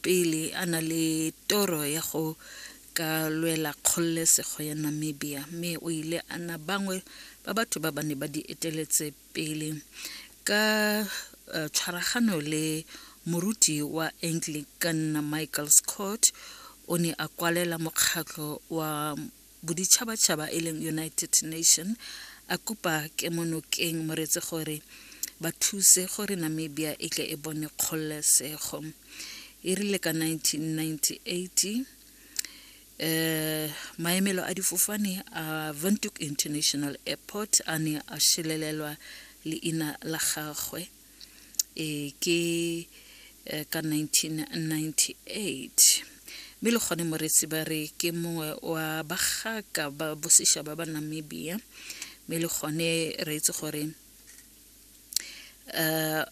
pele a na le toro ya go ka lwela kgololesego ya Namibia mme o ile a na bangwe ba batho ba ba ne ba di eteletse pele ka eh, tshwaragano le moruti wa Anglican Michael Scott o ne a kwalela mokgatlho wa boditšhabatšhaba e leng United Nation a kopa kemonokeng moretse gore ba thuse gore Namibia e tle e bone kgololesego. E rile ka 1998 eh maemelo a difofane a Windhoek International Airport a ne a šelelelwa leina la gagwe e ke eh, ka 1998 mme le gone moretsi ba re ke mongwe wa bagaka ba bosešaba ba Namibia mme le gone re itse gore um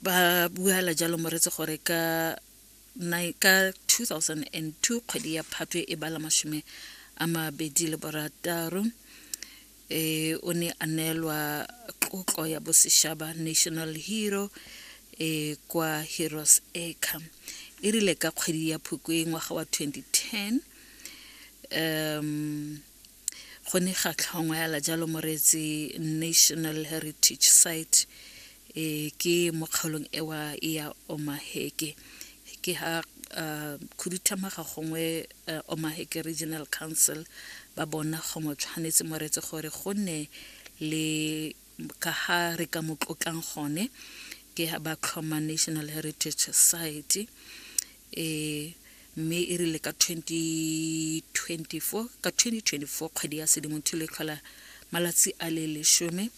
ba buala jalo moretsi gore ka ka 2002 kgwedi ya Phatwe e bala 26 e o ne a neelwa tlotlo ya bosešaba National Hero e kwa Heroes Acre. E rile ka kgwedi ya Phukwi ngwaga wa 2010 um go ne ga tlhongwa yala jalo moreetsi National Heritage Site e ke mo kgaolong ewa ya Omaheke ke ha uh, khuduthamaga gongwe uh, Omaheke Regional Council ba bona gongwe tshwanetse moreetsi gore go nne le ka ha re ka mo tlotlang gone ke ha ba tlhoma National Heritage Site e mme e rile ka 2024 ka 2024 kgwedi ya Sedimonthole e tlhola malatsi a le lesome.